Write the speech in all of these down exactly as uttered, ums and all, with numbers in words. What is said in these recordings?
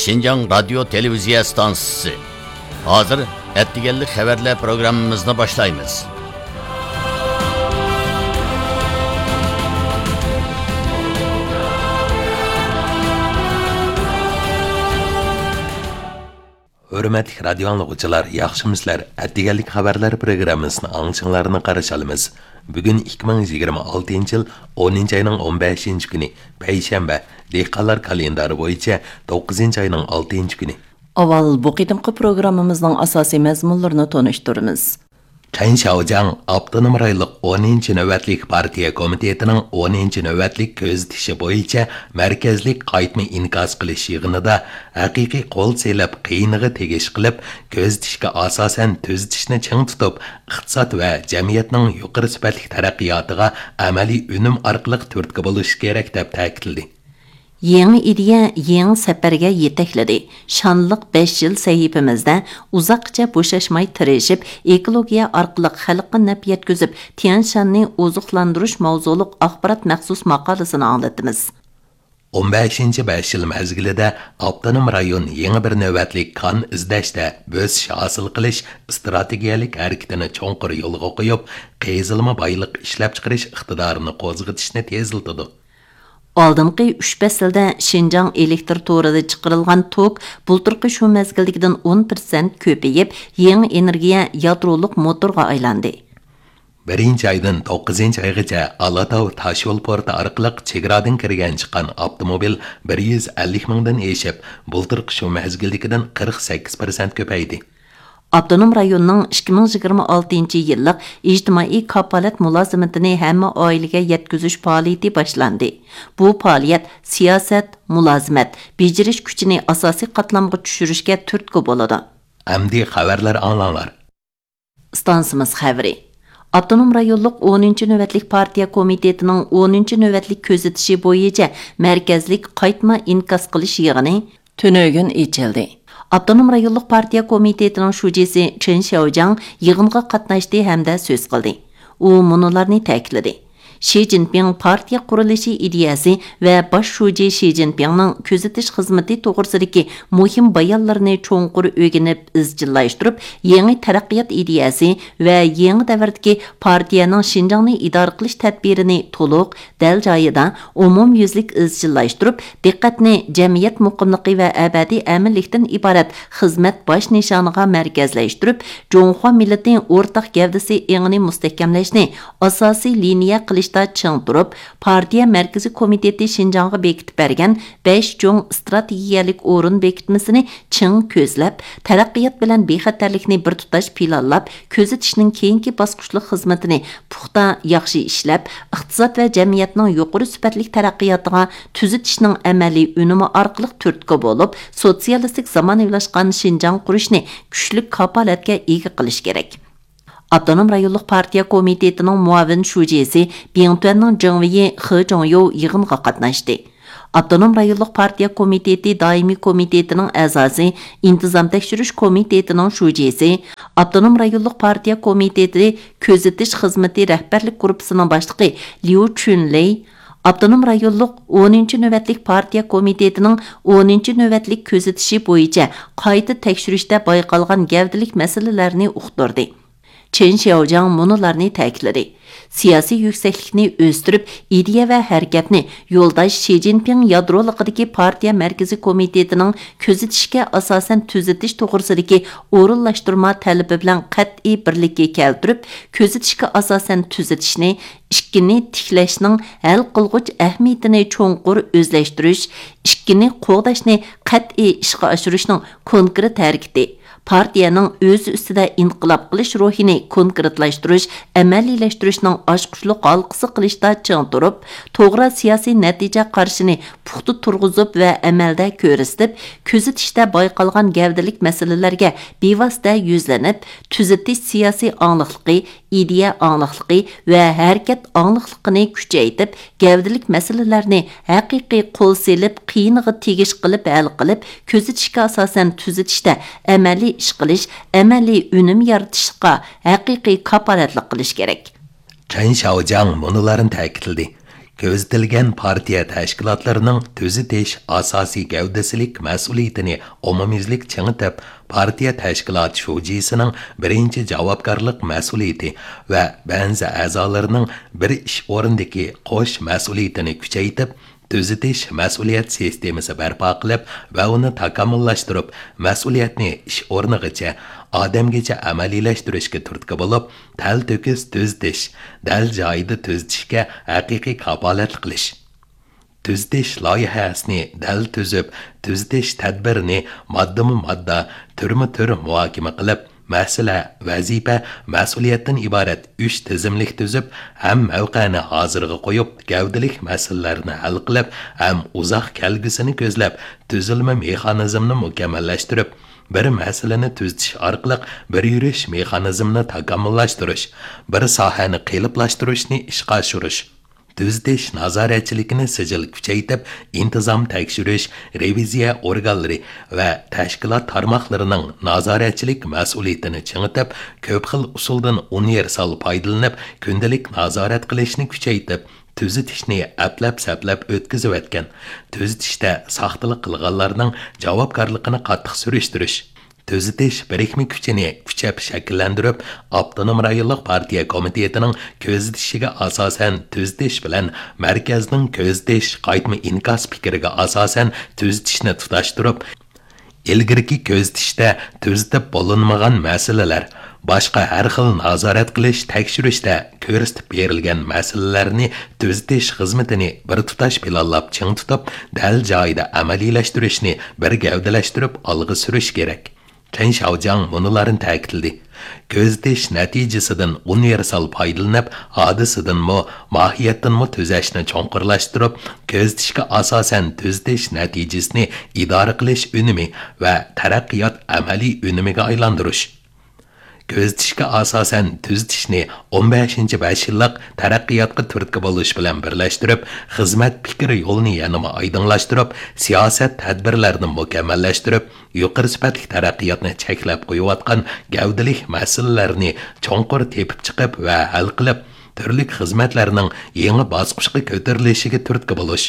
شىنجاڭ رادىيو تېلېۋىزىيە ئىستانسىسى. ھازىر ئەتىگەنلىك خەۋەرلەر پروگراممىمىزنى باشلايمىز. ھۆرمەتلىك رادىيو ئاڭلىغۇچىلار، ياخشىمۇسىلەر؟ ئەتىگەنلىك خەۋەرلەر پروگراممىسىنى ئاڭلىشىڭلارنى قارشى ئالىمىز. بۈگۈن ئىككى مىڭ يىگىرمە ئالتىنچى يىل ئونىنچى ئاينىڭ ئون بەشىنچى كۈنى، پەيشەنبە، دېھقانلار كالېندارى بويىچە توققۇزىنچى ئاينىڭ ئالتىنچى كۈنى. ئاۋۋال بۇ قېتىمقى پروگراممىمىزنىڭ ئاساسىي مەزمۇنلىرىنى تونۇشتۇرىمىز. چېن شياۋجياڭ ئاپتونوم رايونلۇق ئونىنچى نۆۋەتلىك پارتىيە كومىتېتىنىڭ ئونىنچى نۆۋەتلىك كۆزىتىشى بويىچە مەركەزلىك قايتما ئىنكاس قىلىش يىغىنىدا ھەقىقىي قول سېلىپ، قىيىنىغا تېگىش قىلىپ، كۆزىتىشكە ئاساسەن تۈزىتىشنى چىڭ تۇتۇپ، ئىقتىساد ۋە جەمئىيەتنىڭ يۇقىرى سۈپەتلىك تەرەققىياتىغا ئەمەلىي ئۈنۈم ئارقىلىق تۈرتكە بولۇش كېرەك، دەپ تەكىتلىدى. يېڭى ئىدىيە يېڭى سەپەرگە يېتەكلىدى. شانلىق بەش يىل سەھىپىمىزدە ئۇزاققىچە بوشاشماي تىرىشىپ، ئېكولوگىيە ئارقىلىق خەلققە نەپ يەتكۈزۈپ، تيەنشاننى ئوزۇقلاندۇرۇش ماۋزۇلۇق ئاخبارات مەخسۇس ماقالىسىنى ئاڭلىتىمىز. ئون بەشىنچى بەش يىل مەزگىلىدە ئاپتونوم رايون يېڭى بىر نۆۋەتلىك كان ئىزدەشتە بۆسۈش ھاسىل قىلىش ئىستراتېگىيەلىك ھەرىكىتىنى چوڭقۇر يولغا قويۇپ، قېزىلما بايلىق ئىشلەپچىقىرىش ئىقتىدارىنى قوزغىتىشنى تېزلىتىدۇ. ئالدىنقى ئۈچ پەسىلدە شىنجاڭ ئېلېكتىر تورىدا چىقىرىلغان توك بۇلتۇرقى شۇ مەزگىلدىكىدىن ئون پىرسەنت كۆپىيىپ، يېڭى ئېنېرگىيە يادرولۇق موتورغا ئايلاندى. بىرىنچى ئايدىن توققۇزىنچى ئايغىچە ئالاتاۋ تاشيول پورتى ئارقىلىق چېگرادىن كىرگەن چىققان ئاپتوموبىل بىر يۈز ئەللىك مىڭدىن ئېشىپ، بۇلتۇرقى شۇ مەزگىلدىكىدىن قىرىق سەككىز پىرسەنت كۆپەيدى. ئاپتونوم رايوننىڭ ئىككى مىڭ يىگىرمە ئالتىنچى يىللىق ئىجتىمائىي كاپالەت مۇلازىمىتىنى ھەممە ئائىلىگە يەتكۈزۈش پائالىيىتى باشلاندى. بۇ پائالىيەت سىياسەت، مۇلازىمەت، بېجىرىش كۈچىنى ئاساسىي قاتلامغا چۈشۈرۈشكە تۈرتكە بولىدۇ. ئەمدى خەۋەرلەر ئاڭلاڭلار. ئىستانسىمىز خەۋىرى. ئاپتونوم رايونلۇق ئونىنچى نۆۋەتلىك پارتىيە كومىتېتىنىڭ ئونىنچى نۆۋەتلىك كۆزىتىشى بويىچە مەركەزلىك قايتما ئىنكاس قىلىش يىغىنى تۈنۈگۈن ئېچىلدى. ئاپتونوم رايونلۇق پارتىيە كومىتېتىنىڭ شۇجىسى چېن شياۋجياڭ يىغىنغا قاتناشتى ھەمدە سۆز قىلدى. ئۇ مۇنۇلارنى تەكىتلىدى: شى جىنپىڭ پارتىيە قۇرۇلۇشى ئىدىيەسى ۋە باش شۇجى شى جىنپىڭنىڭ كۆزىتىش خىزمىتى توغرىسىدىكى مۇھىم بايانلىرىنى چوڭقۇر ئۆگىنىپ ئىزچىللاشتۇرۇپ، يېڭى تەرەققىيات ئىدىيەسى ۋە يېڭى دەۋردىكى پارتىيەنىڭ شىنجاڭنى ئىدارە قىلىش تەدبىرىنى تولۇق، دەل جايىدا، ئومۇميۈزلۈك ئىزچىللاشتۇرۇپ، دىققەتنى جەمئىيەت مۇقىملىقى ۋە ئەبەدىي ئەمىنلىكتىن ئىبارەت خىزمەت باش نىشانىغا مەركەزلەشتۈرۈپ، جۇڭخۇا مىللىتى ئورتاق گەۋدىسى ئېڭىنى مۇستەھكەملەشنى ئاساسىي لىنىيە قىلىشتا چىڭ تۇرۇپ، پارتىيە مەركىزىي كومىتېتى شىنجاڭغا بېكىتىپ بەرگەن بەش چوڭ ئىستراتېگىيەلىك ئورۇن بېكىتمىسىنى چىڭ كۆزلەپ، تەرەققىيات بىلەن بىخەتەرلىكنى بىر تۇتاش پىلانلاپ، كۆزىتىشنىڭ كېيىنكى باسقۇچلۇق خىزمىتىنى پۇختا، ياخشى ئىشلەپ، ئىقتىساد ۋە جەمئىيەتنىڭ يۇقىرى سۈپەتلىك تەرەققىياتىغا تۈزىتىشنىڭ ئەمەلىي ئۈنۈمى ئارقىلىق تۈرتكە بولۇپ، سوتسىيالىستىك زامانىۋىلاشقان شىنجاڭ قۇرۇشنى كۈچلۈك كاپالەتكە ئىگە قىلىش كېرەك. ئاپتونوم رايونلۇق پارتىيە كومىتېتىنىڭ مۇئاۋىن شۇجىسى بىڭتۈەننىڭ جېڭۋېيى خې جوڭيوۋ يىغىنغا قاتناشتى. ئاپتونوم رايونلۇق پارتىيە كومىتېتى دائىمىي كومىتېتىنىڭ ئەزاسى، ئىنتىزام تەكشۈرۈش كومىتېتىنىڭ شۇجىسى، ئاپتونوم رايونلۇق پارتىيە كومىتېتى كۆزىتىش خىزمىتى رەھبەرلىك گۇرۇپپىسىنىڭ باشلىقى ليۇ چۈنلېي، ئاپتونوم رايونلۇق ئونىنچى نۆۋەتلىك پارتىيە كومىتېتىنىڭ ئونىنچى نۆۋەتلىك كۆزىتىشى بويىچە قايتا تەكشۈرۈشتە بايقالغان گەۋدىلىك مەسىلىلەرنى ئۇقتۇردى. چېن شياۋجياڭ مۇنۇلارنى تەكىتلىدى: سىياسىي يۈكسەكلىكنى ئۆستۈرۈپ، ئىدىيە ۋە ھەرىكەتنى يولداش شى جىنپىڭ يادرولۇقىدىكى پارتىيە مەركىزىي كومىتېتىنىڭ كۆزىتىشكە ئاساسەن تۈزىتىش توغرىسىدىكى ئورۇنلاشتۇرما تەلىپى بىلەن قەتئىي بىرلىككە كەلتۈرۈپ، كۆزىتىشكە ئاساسەن تۈزىتىشنى، ئىككىنى تىكلەشنىڭ ھەل قىلغۇچ ئەھمىيىتىنى چوڭقۇر ئۆزلەشتۈرۈش، ئىككىنى قوغداشنى قەتئىي ئىشقا ئاشۇرۇشنىڭ كونكرېت ھەرىكىتى، پارتىيەنىڭ ئۆزى ئۈستىدە ئىنقىلاب قىلىش روھىنى كونكرېتلاشتۇرۇش، ئەمەلىيلەشتۈرۈشنىڭ ئاچقۇچلۇق ھالقىسى قىلىشتا چىڭ تۇرۇپ، توغرا سىياسىي نەتىجە قارىشىنى پۇختا تۇرغۇزۇپ ۋە ئەمەلدە كۆرسىتىپ، كۆزىتىشتە بايقالغان گەۋدىلىك مەسىلىلەرگە بىۋاسىتە يۈزلىنىپ، تۈزىتىش سىياسىي ئاڭلىقلىقى، ئىدىيە ئاڭلىقلىقى ۋە ھەرىكەت ئاڭلىقلىقىنى كۈچەيتىپ، گەۋدىلىك مەسىلىلەرنى ھەقىقىي قول سېلىپ، قىيىنىغا تېگىش قىلىپ ھەل قىلىپ، كۆزىتىشكە ئاساسەن تۈزىتىشتە ئەمەلىي ئىش قىلىش، ئەمەلىي ئۈنۈم يارىتىشقا ھەقىقىي كاپالەتلىك قىلىش كېرەك. چېن شياۋجياڭ مۇنۇلارنى تەكىتلىدى: كۆزىتىلگەن پارتىيە تەشكىلاتلىرىنىڭ تۈزىتىش ئاساسىي گەۋدىسىلىك مەسئۇلىيىتىنى ئومۇميۈزلۈك چىڭىتىپ، پارتىيە تەشكىلات شۇجىسىنىڭ بىرىنچى جاۋابكارلىق مەسئۇلىيىتى ۋە بەنزى ئەزالىرىنىڭ بىر ئىش ئورنىدىكى قوش مەسئۇلىيىتىنى كۈچەيتىپ، تۈزىتىش مەسئۇلىيەت سىستېمىسى بەرپا قىلىپ ۋە ئۇنى تاكامۇللاشتۇرۇپ، مەسئۇلىيەتنى ئىش ئورنىغىچە، ئادەمگىچە ئەمەلىيلەشتۈرۈشكە تۈرتكە بولۇپ، تەلتۆكۈس تۈزىتىش، دەل جايىدا تۈزىتىشكە ھەقىقىي كاپالەتلىك قىلىش. تۈزىتىش لايىھەسىنى دەل تۈزۈپ، تۈزىتىش تەدبىرىنى ماددىمۇ ماددا، تۈرمۇ تۈر مۇھاكىمە قىلىپ، مەسىلە، ۋەزىپە، مەسئۇلىيەتتىن ئىبارەت ئۈچ تىزىملىك تۈزۈپ، ھەم مەۋقەنى ھازىرغا قويۇپ، گەۋدىلىك مەسىلىلەرنى ھەل قىلىپ، ھەم ئۇزاق كەلگۈسىنى كۆزلەپ، تۈزۈلمە مېخانىزمىنى مۇكەممەللەشتۈرۈپ، بىر مەسىلىنى تۈزىتىش ئارقىلىق بىر يۈرۈش مېخانىزمىنى تاكامۇللاشتۇرۇش، بىر ساھەنى قېلىپلاشتۇرۇشنى ئىشقا ئاشۇرۇش. تۈزىتىش نازارەتچىلىكىنى سىجىل كۈچەيتىپ، ئىنتىزام تەكشۈرۈش، رېۋىزىيە ئورگانلىرى ۋە تەشكىلات تارماقلىرىنىڭ نازارەتچىلىك مەسئۇلىيىتىنى چىڭىتىپ، كۆپ خىل ئۇسۇلدىن ئۇنىۋېرسال پايدىلىنىپ، كۈندىلىك نازارەت قىلىشنى كۈچەيتىپ، تۈزىتىشنى ئەپلەپ-سەپلەپ ئۆتكۈزۈۋەتكەن، تۈزىتىشتە ساختىلىق قىلغانلارنىڭ جاۋابكارلىقىنى قاتتىق سۈرۈشتۈرۈش، تۈزىتىش بىرىكمە كۈچىنى كۈچەپ شەكىللەندۈرۈپ، ئاپتونوم رايونلۇق پارتىيە كومىتېتىنىڭ كۆزىتىشىگە ئاساسەن تۈزىتىش بىلەن مەركەزنىڭ كۆزىتىش قايتما ئىنكاس پىكرىگە ئاساسەن تۈزىتىشنى تۇتاشتۇرۇپ، ئىلگىرىكى كۆزىتىشتە تۈزىتىپ بولۇنمىغان مەسىلىلەر، باشقا ھەر خىل نازارەت قىلىش، تەكشۈرۈشتە كۆرسىتىپ بېرىلگەن مەسىلىلەرنى تۈزىتىش خىزمىتىنى بىر تۇتاش پىلانلاپ چىڭ تۇتۇپ، دەل جايىدا ئەمەلىيلەشتۈرۈشنى بىر گەۋدىلەشتۈرۈپ ئالغا سۈرۈش كېرەك. چەن شياۋجياڭ مۇنۇلارنى تەكىتلىدى: كۆزىتىش نەتىجىسىدىن ئۇنىۋېرسال پايدىلىنىپ، ھادىسىدىنمۇ، ماھىيەتتىنمۇ تۈزەشنى چوڭقۇرلاشتۇرۇپ، كۆزىتىشكە ئاساسەن تۈزىتىش نەتىجىسىنى ئىدارە قىلىش ئۈنۈمى ۋە تەرەققىيات ئەمەلىي ئۈنۈمىگە ئايلاندۇرۇش. كۆزىتىشكە ئاساسەن تۈزىتىشنى ئون بەشىنچى بەش يىللىق تەرەققىياتقا تۈرتكە بولۇش بىلەن بىرلەشتۈرۈپ، خىزمەت پىكىر يولىنى يەنىمۇ ئايدىڭلاشتۇرۇپ، سىياسەت تەدبىرلەرنى مۇكەممەللەشتۈرۈپ، يۇقىرى سۈپەتلىك تەرەققىياتنى چەكلەپ قويۇۋاتقان گەۋدىلىك مەسىلىلەرنى چوڭقۇر تېپىپ چىقىپ ۋە ھەل قىلىپ، تۈرلۈك خىزمەتلەرنىڭ يېڭى باسقۇچقا كۆتۈرۈلۈشىگە تۈرتكە بولۇش.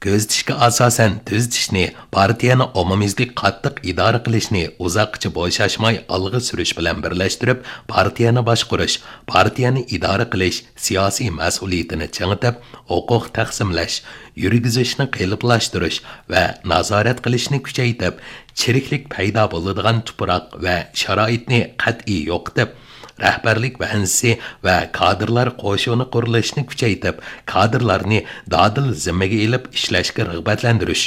كۆزىتىشكە ئاساسەن تۈزىتىشنى پارتىيەنى ئومۇميۈزلۈك قاتتىق ئىدارە قىلىشنى ئۇزاققىچە بوشاشماي ئالغا سۈرۈش بىلەن بىرلەشتۈرۈپ، پارتىيەنى باشقۇرۇش، پارتىيەنى ئىدارە قىلىش سىياسىي مەسئۇلىيىتىنى چىڭىتىپ، ھوقۇق تەقسىملەش، يۈرگۈزۈشنى قېلىپلاشتۇرۇش ۋە نازارەت قىلىشنى كۈچەيتىپ، چىرىكلىك پەيدا بولىدىغان تۇپراق ۋە شارائىتنى قەتئىي يوقىتىپ، رەھبەرلىك بەنزىسى ۋە كادىرلار قوشۇنى قۇرۇلۇشىنى كۈچەيتىپ، كادىرلارنى دادىل زىممىگە ئېلىپ ئىشلەشكە رىغبەتلەندۈرۈش.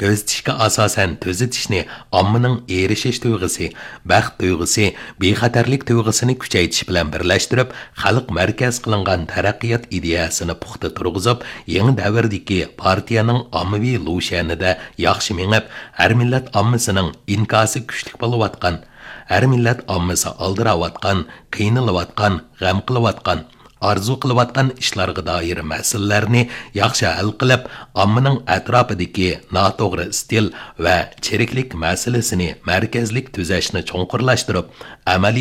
كۆزىتىشكە ئاساسەن تۈزىتىشنى ئاممىنىڭ ئېرىشىش تۇيغۇسى، بەخت تۇيغۇسى، بىخەتەرلىك تۇيغۇسىنى كۈچەيتىش بىلەن بىرلەشتۈرۈپ، خەلق مەركەز قىلىنغان تەرەققىيات ئىدىيەسىنى پۇختا تۇرغۇزۇپ، يېڭى دەۋردىكى پارتىيەنىڭ ئاممىۋى لۇشيەنىدە ياخشى مېڭىپ، ھەر مىللەت ئاممىسىنىڭ ئىنكاسى كۈچلۈك بولۇۋاتقان، ھەر مىللەت ئاممىسى ئالدىراۋاتقان، قىينىلىۋاتقان، غەم قىلىۋاتقان، ئارزۇ قىلىۋاتقان ئىشلارغا دائىر مەسىلىلەرنى ياخشى ھەل قىلىپ، ئاممىنىڭ ئەتراپىدىكى ناتوغرا ئىستىل ۋە چىرىكلىك مەسىلىسىنى مەركەزلىك تۈزەشنى چوڭقۇرلاشتۇرۇپ، ئەمەلىي